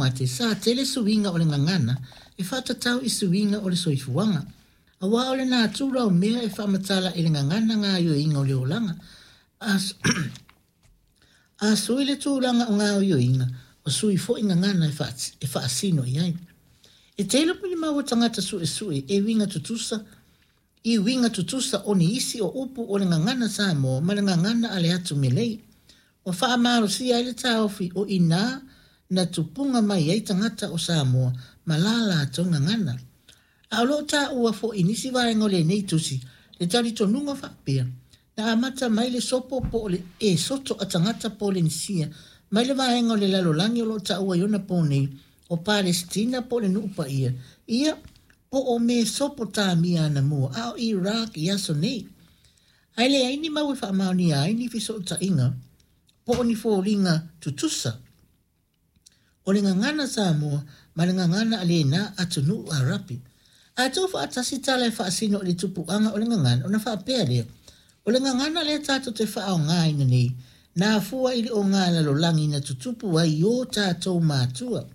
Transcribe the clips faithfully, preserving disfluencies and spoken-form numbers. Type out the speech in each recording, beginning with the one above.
Mate, sa tele suiga o le gagana e faatatau i suiga o le soifuaga. Aua o le natura o mea e faamatala i le gagana gaoioiga o le olaga. A, a sui le tulaga o gaoioiga, o sui foi gagana e, fa, e faasino i ai. E tele molimau a tagata suesue e uiga tutusa i uiga tutusa o nisi o upu o le gagana Samoa ma le gagana a le atu melei. Ua faamalosia ai le taofi o inā na tupuga mai ai tagata o Samoa ma la latou gagana. A o loo taua fo'i nisi vaega o lenei tusi le talitonuga faapea, na amata mai le sopo po o le esoto a tagata Polenisia mai le vaega o le lalolagi o loo taua i ona po nei o Palesitina po o le nuu paia ia po o Mesopotamia anamua a o Iraq i aso nei. Ae leai ni mau e faamaonia ai ni fesootaiga po o ni foliga tutusa o le gagana Samoa ma le gagana a lena atunuu Arapi. A tuu faatasi tala e faasino i le tupuaga o le gagana ona faapea lea, o le gagana lea tatou te faaaogaina nei na afua i le oga lalolagi na tutupu ai o tatou matua.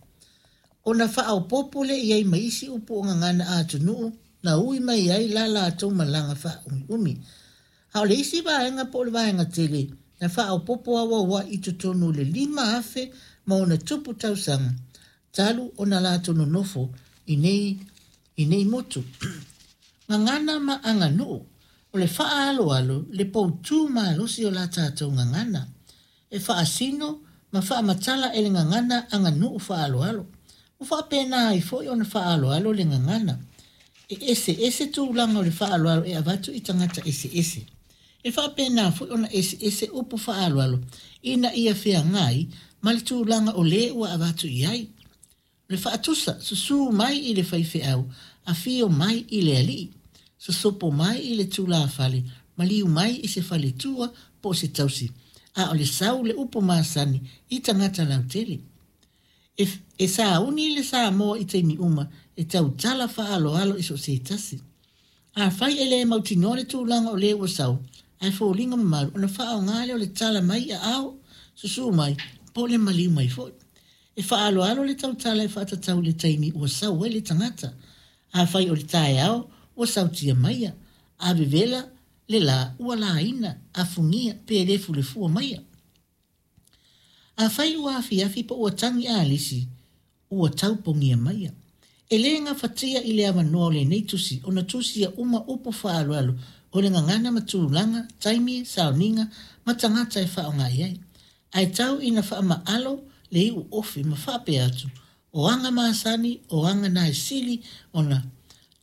Ona faaopoopo lea i ai ma isi upu o gagana a atunuu na ui mai ai la latou malaga faaumiumi. A o le isi vaega po o le vaega tele na faaopoopo auauai i totonu o le lima afe ma ona tupu tausaga talu ona latou nonofo i nei, i nei motu. Gagana ma aganuu, o le faaaloalo le poutū malosi o la tatou gagana. E faasino ma faamatala e le gagana aganuu faaaloalo. Ua faapena ai foi ona faaaloalo le gagana. E eseese tulaga o le faaaloalo e avatu i tagata eseese. E faapena foi ona eseese upu faaaloalo ina ia feagai ma le tulaga o le ua avatu i ai. Le faatusa, susu mai i le faifeau, afio mai i le alii, sosopo mai i le tulafale, maliu mai i se faletua po o se tausi, a o le sau le upu masani i tagata lautele. E, e sauni le Samoa i taimi uma e tautala faaaloalo i so o se tasi. Afai e le mautinoa le tulaga o le ua sau, ae foliga mamalu ona faaaoga lea o le tala mai i aao, susu mai, po o le maliu mai foi. E faaaloalo le tautala e faatatau i le taimi ua sau ai le tagata. Afai o le taeao, ua sautia maia, a vevela le la ua laina, afugia pe le fulefua maia. Afai ua afiafi po ua tagi alisi, ua taupogia maia. E le gafatia i le avanoa o lenei tusi ona tusia uma upu faaaloalo o le gagana ma tulaga, taimi, sauniga ma tagata e faaaoga i ai. Ae tau ina faamaalo le iu ofi ma faapea atu, o aga masani, o aga na e sili ona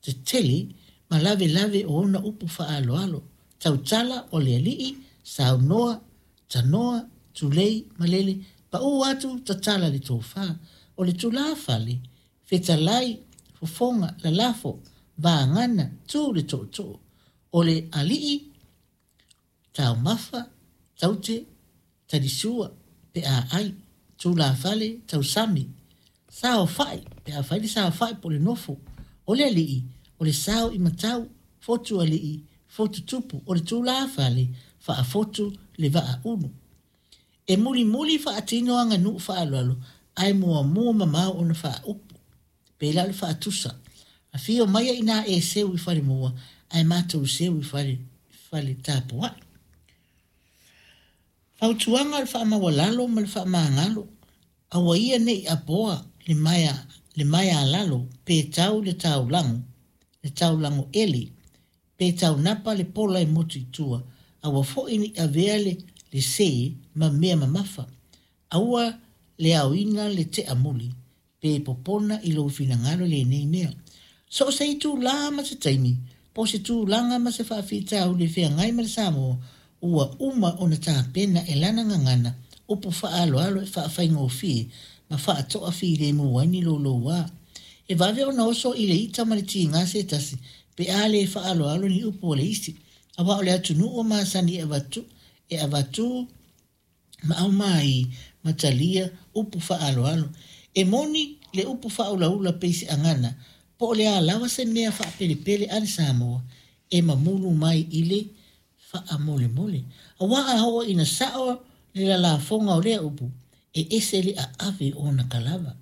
tetele ma lavelave o ona upu faaaloalo. Tautala o le alii, saunoa, tanoa, tulei, malele, pau atu, tatala le tofa. O le tulafale, fetalai, fofoga, lalafo, vagana, tu le tootoo. O le alii, taumafa, taute, talisua, pe a ai, tulafale, tausami, saofai, pe a fai le saofai po o le nofo. O le alii, o le sao i matau, fotu alii, fotu tupu, o le tulafale, faafotu le vaaulu. E mulimuli faatino aganuu faaaloalo, ae muamua mamao ona faaupu. Pe la o le faatusa. Afio maia ina e seu i falemua, ae matou seu i fale, fale tapuai. Fautuaga o le faamaualalo ma le faamagalo, aua ia nei apoa le maea, le maea alalo pe tau le taulago, le taulago eli, pe taunapa le pola e motu i tua, aua foi nei avea le, le sē ma mea mamafa. Aua le aoina le tea muli, pe popona i lou finagalo lenei mea. So o se itulā ma se taimi, po o se tulaga ma se faafitauli e feagai ma le Samoa, ua uma ona tapena e lana gagana upu faaaloalo e faafaigofie ma faatoafilemu ai ni louloua. E vave ona oso i le ita ma le tiga se tasi, pe a le faaaloalo ni upu o le isi, aua o le atunuu ua masani e avatu, e avatu ma aumai ma talia upu faaaloalo. E moni le upu faaulaula pei se agana, po o le a lava se mea faapelepele a le Samoa, e mamulu mai i le faamolemole. Aua a oo ina sao le lalafoga o lea upu, e ese le aave o ona kalava.